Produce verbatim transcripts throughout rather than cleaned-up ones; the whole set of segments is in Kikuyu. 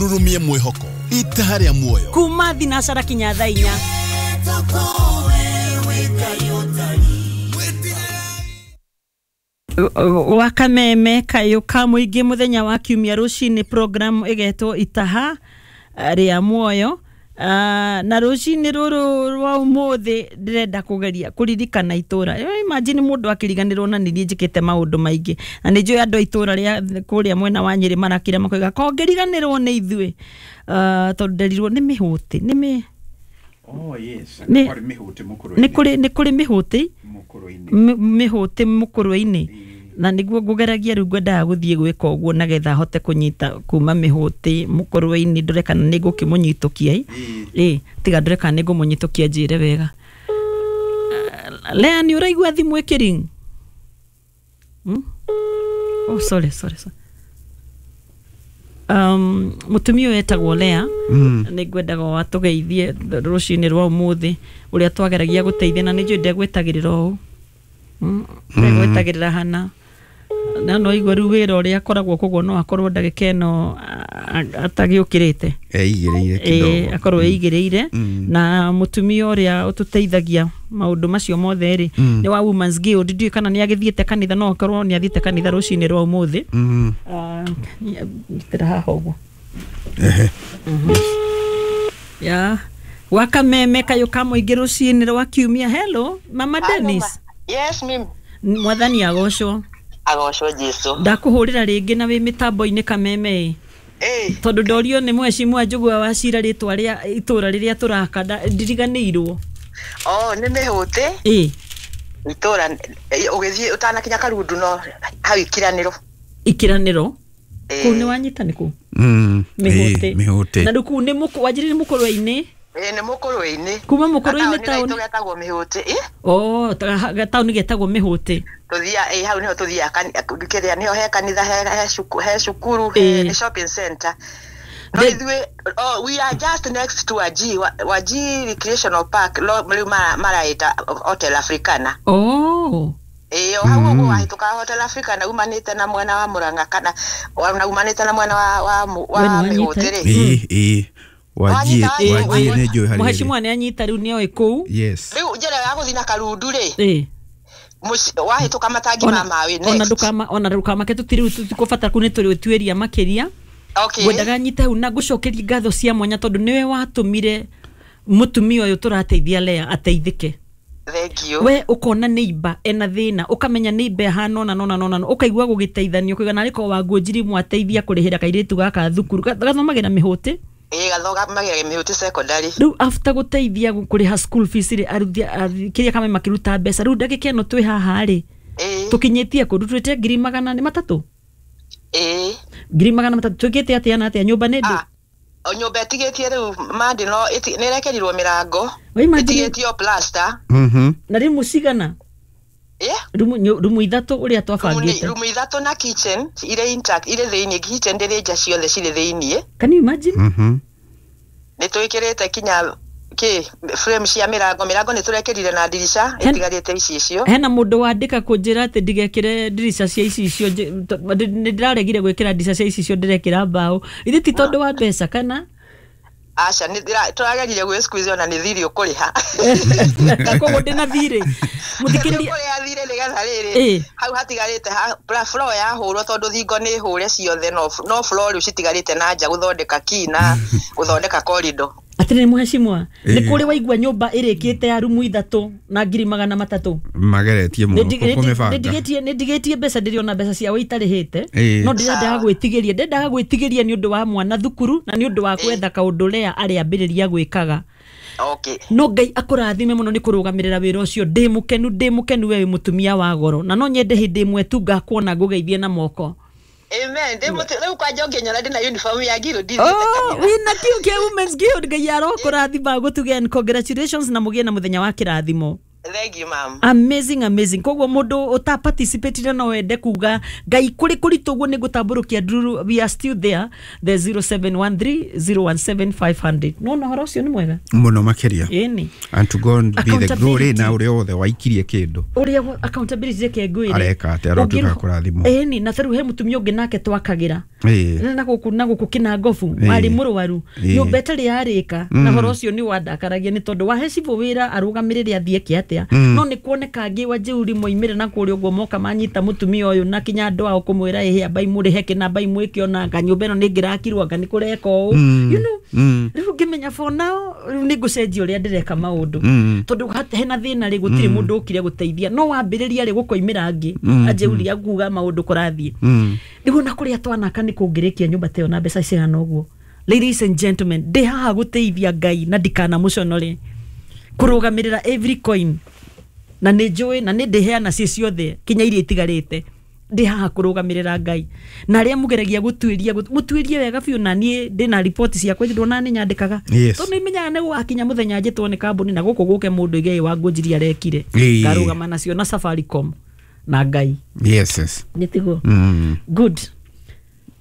Rurumie mwihoko itaha rĩa muoyo kuma thinacara kinya thaa inya. Wa kameme kayo ka muingi muthenya wa kiumia rucini program igetwo itaha ria muoyo. Uh, na rucini ruru rwa umuthi ndirenda kugeria kuririkana itura. Imagine mundu akiriganirwo na ni njikite maundu maingi na ni njui andu a itura ria kuria mwena wa Nyeri marakira makoiga ko ngiriganirwo ni ithui, uh, tondu nderirwo ni mihuti ni mi Oh yes, Ni- kuri mihuti ni mukuruini. kuri ni kuri mihuti Mukuruini. mihuti mukuruini na niguo ngugeragia riu ngwendaga guthie gwika uguo nagetha hote kunyita kuma mihuti mukuruini ndore kana ni ngukimunyitukia Ĩĩ. ĩ tiga ndore kana ni ngumunyitukia njire wega. Uh, Lea ni uraigua thimu ikiring? Hmm? Oh sorry sorry sorry. Um, mutumia ũyũ etagwo Lea Mm. nĩ ngwendaga watũgeithie rũcinĩ rwa ũmũthĩ ũrĩa twageragia gũteithia na nĩ njũĩ ndegwĩtagĩrĩra ũũ. Mm, ndegwĩtagĩrĩra hana na no igua rĩu wĩra ũrĩa akoragwo koguo no akorwo ndagĩka ĩno atagĩũkĩrĩte Eigĩrĩire ĩĩ kidogo. akorwo eigĩrĩire. Mm. Na mutumia ũrĩa ũtũteithagia maũndũ macio mothe rĩ Mm. nĩ wa Women's Guild. Ndiũĩ kana nĩ agĩthiĩte kanitha, no akorwo nĩ athiĩte kanitha rũcinĩ rwa ũmũthĩ. Mm. Ah, nyitĩra haha ũguo. Ehe. Ya wakameme kayo ka mũingĩ rũcinĩ rwa kiumia. Hello mama Dennis. Yes, mimi. Mwathani agocwo. Agocwo Jesu. Ndakuhũrĩra rĩngĩ na wĩ mĩtambo-inĩ kameme ĩ Eh, tondũ ndorio nĩ mheshimiwa Njũgũa wa Cira rĩtwa rĩa itũra rĩrĩa tũraka ndiriganĩirwo. oh, nĩ mĩhũte ĩ itũra ũgĩthiĩ ũtanakinya Karundu no hau ikiranĩro. Ikiranĩro Ĩĩ. kũu nĩ wanyita nĩ kũ Mm. mĩhũte Ĩĩ, mĩhũte. na rĩu kũu nĩ mũkũ wanjĩrĩire mũkũrwe-inĩ Ĩĩ, nĩ mũkũrwe-inĩ. kuma mũkũrwe-inĩ Gataũni taũni gaitũ getagwo mĩhũte. Ĩ, oh gataũni getagwo mĩhũte. tũthia ĩ hau nĩho tũthiaga kani- kĩrĩa nĩho he kanitha he he cuku- he cukuru Ĩĩ. he nĩ shopping center. No The- ithuĩ oh, we are just next to Waji Wa- Waji Recreational Park lo rĩu mara- maraĩta Hotel Africana. Oh Ĩĩ, o hau ũguo wahĩtũka Hotel Africana umanĩte na mwena wa Murang'a kana na umanĩte na mwena wa wa mu- We wa nĩwanyita? mĩhũte rĩ. Ĩĩ, ĩĩ. Wajie, Wanyita, wajie nĩ njũĩ harĩa ĩrĩ. mheshimiwa nĩ anyita rĩu nĩoĩ kũu. Yes. Rĩu njĩra ya gũthiĩ na Karundu rĩ ĩ mũci- wahĩtũka matangi ma maĩ ona next. ndukama ona ndukamake tutiri tutikũbatara kũu nĩ tũrĩtuĩria makĩria. Okay. Ngwendaga nyite hau na ngũcokerie ngatho cia mwanya tondũ nĩwe watũmire mũtumia ũyũ tũrateithia Lea ateithĩke. Thank you. We ũkona neighbor ena thĩna ũkamenya neighbor ĩhana ũna nona nona ũkaigua gũgĩteithanio ũkauga narĩ korwo Wangũnjiri mwateithia kũrĩhĩra kairĩtu gaka thukuru Ga- gathomagĩra mĩhũtĩ. Ĩĩ, gathomagĩra mĩhũte secondary. Rĩu after gũteithia kũrĩha school fees rĩ aruthi kĩrĩa kame makĩruta mbeca rĩu ndagĩka ĩno twĩ haha rĩ Ĩĩ. tũkinyĩtie kũndũ twĩte ngiri magana nĩ matatũ Ĩĩ. ngiri magana matatũ twĩkĩte atĩa na atĩa nyũmba nĩ ndĩ Ah, o nyũmba ĩtigĩtie rĩu mandi no ĩti- nĩ ĩrekerirwo mĩrango Wa imagine- ĩtigĩtio plaster. Mhm. na rĩmũ cigana Ĩ, rumu nyu- rumu ithatũ ũrĩa rumu nĩ- twabangĩte. rumu ithatũ na kitchen irĩ intact irĩ thĩiniĩ kitchen ndĩrĩ nja ciothe cirĩ thĩiniĩ. Can you imagine? Mhm. Nĩ twĩkĩrĩte kinya kĩ frame cia mĩrango mĩrango nĩ tũrekerire na ndirica Hen- ĩtigarĩte icicio. Hena mũndũ wandĩka kũnjĩra atĩ ndigekĩre ndirica cia icicio nj- to- ndĩ- nĩ ndĩraregire gwĩkĩra ndirica cia icicio ndĩrekĩra mbaũ ithe ti tondũ wa mbeca kana Aca nĩ ndĩra- tũragerire gwĩ squeeze ona nĩ thirĩ ũkũrĩha. Koguo ndĩna thirĩ mũthikĩrĩria ũkũrĩha thirĩ nĩgetha rĩrĩ Ĩ. hau hatigarĩte ha- pra- floor yahũrwo tondũ thingo nĩ hũre ciothe no no floor rĩu citigarĩte na nja gũthondeka key na gũthondeka corridor. Atĩrĩrĩ mheshimiwa nĩ Ĩ. kũrĩ waigua nyũmba ĩrĩkĩte ya rumu ithatũ na ngiri magana matatũ Mageretie mũno kũmĩbanga. nĩ ndigĩtie mbeca ndĩrĩ ona mbeca ciao itarĩhĩte Ĩ. no ndĩrendaga gwĩtigĩria ndendaga gwĩtigĩria nĩ ũndũ wa mwana thukuru na nĩ ũndũ wa gwetha kaũndũ Lea arĩambĩrĩria gwĩkaga. Okay. No Ngai akũrathime mũno nĩ kũrũgamĩrĩra wĩra ũcio ndĩ mũkenu ndĩ mũkenu we wĩ mũtumia wa goro na no nyende hĩndĩ ĩmwe tu ngakuona ngũgeithie na moko. Amen. Ndĩ mũtu rĩu kwanja ũngĩnyona ndĩ na uniform ya guild ndithiĩte Oh, kanitha. wĩna kĩu kĩa Women's Guild Ngai arokũrathima gũtuge and congratulations na mũgĩe na mũthenya wa kĩrathimo. Thank you ma'am. Amazing, amazing. Koguo mundu uta participate no wende kuga ngai kuri kuritu guo nigutamburukia ndururu, we are still there, the zero seven one three zero one seven five hundred. No no horo ucio ni mwega muno makiria. Ĩni. And to God be the glory na uria othe waikirie kindu uria accountability yake ngwire areka ati arotuka kurathimwo. Ĩni, na taru he mutumia ungi nake twakagira na guku na guku kina ngobu ari murwaru nyumba itari yarika na horo ucio ni wandakaragia ni tondu wahe cibu wira arugamirire athie kia atia no ni kuoneka ngi wa jeuri moimire na kuria uguo moka manyita mutumia uyu na kinya andu ao kumwira ihe ambai murihe kina ambai mwike ona anga nyumba ino ni ngirakirwo anga ni kureka uu, you know. Riu ngimenya for now riu ni ngucenjia uria ndireka maundu tondu hena thina ri gutiri mundu ukire guteithia no wambiriria ri gukoimira angi ajeuri akuga maundu kurathie riu na kuria twanaka ni kungirikia nyumba teo na mbeca cigana uguo. Ladies and gentlemen, ndi haha guteithia Ngai na ndikana muconore kurugamirira every coin na nĩ njũĩ na nĩ ndĩheana ci ciothe kinya iria itigarĩte ndi haha kurugamirira Ngai na aria mugeragia gutuiria mutuirie wega biũ na niĩ ndĩna report ciakwa ndona nĩ nyandĩkaga tondu imenyaga nĩ gũgakinya mũthenya njĩtwo nĩ kambuni na gũkũ gũke mũndũ igei wa ngũnjiria arekire ngarũgama nacio na Safaricom na Ngai. Yes, yes. Nĩ tiguo? Mm. Good.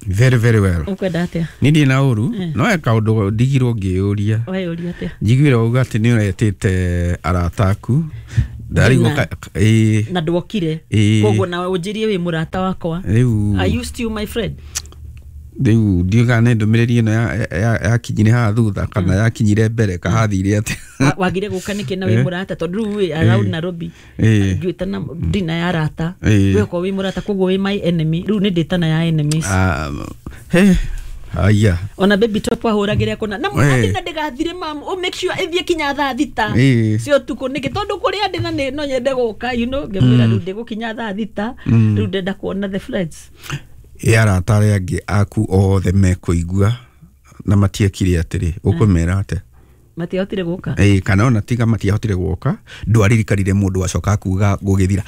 Very very well. Ukwenda atia? Ni ndi na uru no e kaundu ndigirwo ngiyuria. Weyuria atia? Njiguire uga ati ni uretite arata aku ndarigwo eh na ndwokire koguo nawe unjirie wi murata wakwa. Are you still my friend? Riu ndiuga nĩ ndũmĩrĩri ĩno yakinyire haha thutha kana yakinyire mbere kahathire atia? Wagire gũka nĩkĩ na wĩ mũrata tondũ rĩu wĩ around Nairobi ngĩtana ndina ya arata we ko wĩ mũrata koguo wĩ my enemy rĩu nĩ ndĩtana ya enemies. He haya ona baby top ahũragĩre kũna na mũthĩ na ndĩgathire mam o make sure ĩthiĩ kinya thaa thita cia ũtukũ nĩkĩ tondũ kũrĩa ndĩ na nĩ no nyende gũka you know ngĩmwĩra rĩu ndĩgũkinya thaa thita rĩu ndenda kuona the friends ĩ arata arĩa angĩ aku othe mekũigua na matiekire atĩrĩ ũkũmera atĩa? Matiahotire gũka ĩ kana ona tiga matiahotire gũka ndwaririkanire mũndũ acoka kuga gũgĩthira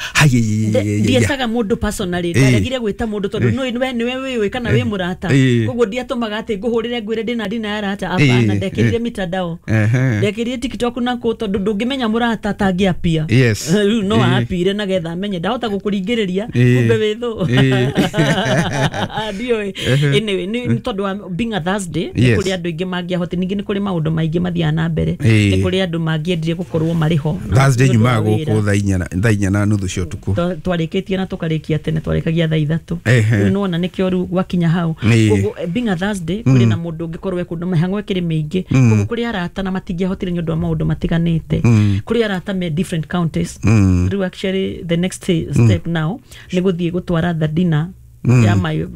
ndietaga mũndũ personally ndaregire gwĩta mũndũ tondũ nĩ we nĩwe wĩũĩ kana wĩ mũrata koguo ndiatũmaga atĩ ngũhũrĩre ngwĩre ndĩna ndina ya arata hapana ndekĩrire mitandao ndekĩrire TikTok na kũ tondũ ndũngĩmenya mũrata atangĩapia rĩu no apire na getha amenye ndahota gũkũringĩrĩria kumbe wĩ thũ ndiũĩ. Anyway nĩ tondũ wa being a Thursday nĩ kũrĩ andũ aingĩ mangĩahotire ningĩ nĩ kũrĩ maũndũ maingĩ mathiaga na mbere nĩ kũrĩ andũ mangĩendire gũkorwo marĩ ho Thursday nyumaga gũkũ thaa inya thaa inya na nuthu cia ũtukũ twarĩkĩtie na tũkarĩkia tene twarĩkagia thaa ithatũ rĩu nĩwona nĩkĩo rĩu gwakinya hau koguo being a Thursday kũrĩ na mũndũ ũngĩkorwo e kũndũ mĩhang'o ĩkĩrĩ mĩingĩ koguo kũrĩ arata na matingĩahotire nĩ ũndũ wa maũndũ matiganĩte kũrĩ arata me different counties rĩu actually the next step now nĩ gũthiĩ gũtwara the dinner ya my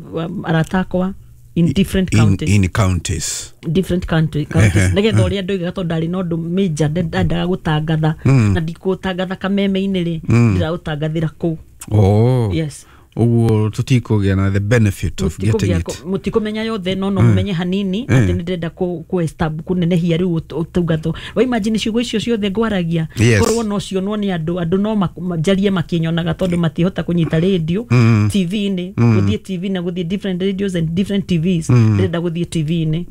arata akwa in different counties in, in counties different country counties nigetha uria ndoigaga tondu ndari na undu major ndendaga gutangatha na ndikutangatha kameme-inĩ rĩ ndiraũtangathĩra kũu. Oh yes, uguo tutikũgĩa na the benefit of getting it mutikumenya yothe no no mumenye hanini ati nĩ ndĩrenda ku ku kunenehia rĩu ũtungatho wa imagine ciugo icio ciothe ngwaragia korwo no cionwo nĩ andũ andũ no njarie makĩnyonaga tondũ matihota kũnyita radio T V-inĩ gũthiĩ T V na gũthiĩ different radios and different T Vs ndĩrenda gũthiĩ T V-inĩ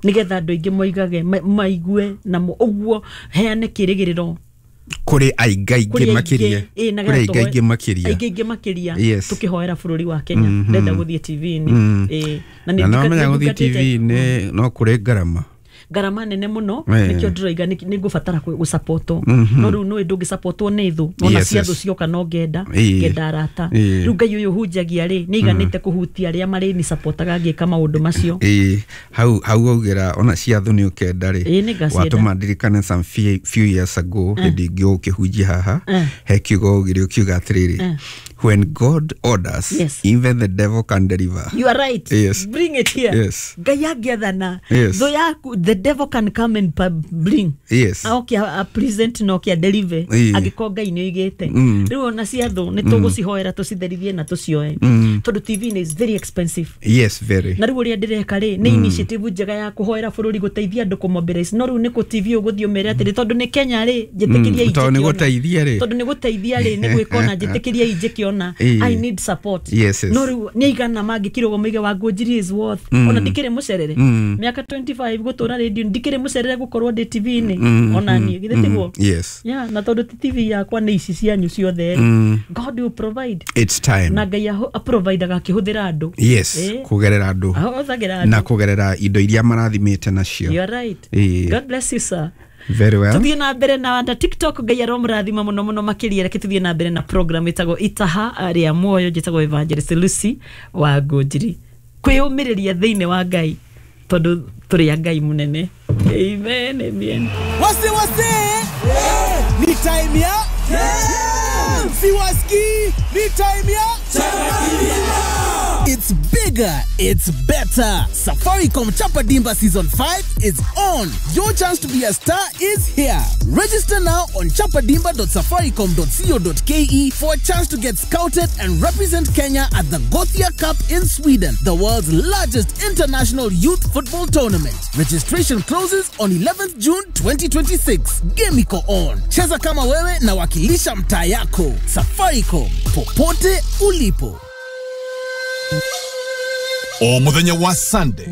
nĩgetha andũ aingĩ moigage maigue na ũguo heane kĩrĩgĩrĩro kuri aingaingĩ makiria kuri aingaingĩ makiria aingaingĩ makiria tukihoera bũrũri wa Kenya ndenda gũthiĩ T V-inĩ ĩ na nĩ ndamenya gũthiĩ T V-inĩ no kũrĩ ngarama ngarama nene muno nikio ndĩroiga nĩ ngũbatara gũsapotwo no rĩu nĩ ndũngĩsapotwo nĩ thũ ona cia thũ cioka no ngenda ngenda arata rĩu Ngai ũyũ hunjagia rĩ nĩ iganĩte kũhutia arĩa marĩ ni sapotaga ngĩka maũndũ macio ĩ hau hau augĩra ona cia thũ nĩ ũkenda rĩ watũma ndirikane some few years ago hĩndĩ ĩngĩ ũkĩhunjia haha he kiugo ũgĩrĩ ũkiuga atĩrĩrĩ when God orders, yes, even the devil can deliver. You are right. Yes. Bring it here. Yes. Ngai angĩathana yes, thũ yaku the devil can come and bring. Yes. Aoke a present no kia deliver angĩkorwo Ngai nĩ oigĩte rĩu ona cia thũ nĩ tũgũcihoera tũcitherithie na tũcioe tondũ T V is very expensive. Yes, very. Na rĩu ũrĩa ndĩreka rĩ nĩ initiative njega ya kũhoera bũrũri gũteithia andũ kũmobilize no rĩu nĩ kũ T V ũgũthiĩ ũmere atĩrĩ tondũ nĩ Kenya rĩ njĩtĩkĩria tondũ nĩ gũteithia rĩ tondũ nĩ gũteithia rĩ nĩ gwĩka ona njĩtĩkĩria njĩke ngĩona Ĩĩ. I need support. Yes, yes. No rĩu nĩ aigana mangĩkirwo moige wa Ngũnjiri is worth, ona ndikĩrĩ mũcerere mĩaka mĩrongo ĩrĩ na ĩtano gũtũra radio, ndikĩrĩ mũcerere gũkorwo ndĩ T V-inĩ ona niĩ, githĩ tiguo? Yes. Yeah, na tondũ ti T V yakwa, nĩ ici cianyu ciothe rĩ, God will provide. It's time. Na Ngai aho- aprovidaga akĩhũthĩra andũ. Yes. Eh. Kũgerera andũ. Ahũthagĩra Na andũ. kũgerera indo iria marathimĩte nacio. You are right. Ĩĩ. God bless you, sir. Very well. Tuthiĩ na mbere na na TikTok. Ngai aromũrathima mũno mũno makĩria. Reke tuthiĩ na mbere na program ĩtagwo Itaha rĩa Muoyo. Njĩtagwo Evangelist Lucy wa Ngũnjiri. Kwĩyũmĩrĩria thĩinĩ wa Ngai, tondũ tũrĩ a Ngai mũnene. Amen, amen. Wase wase, ni time ya siwaski, ni time ya. It's bigger, it's better. Safaricom Chapa Dimba Season five is on. Your chance to be a star is here. Register now on chapadimba dot safaricom dot co dot k e for a chance to get scouted and represent Kenya at the Gothia Cup in Sweden, the world's largest international youth football tournament. Registration closes on eleventh June twenty twenty-six. Game iko on. Cheza kama wewe na wakilisha mtaa yako. Safaricom, popote ulipo. O muthenya wa Sunday.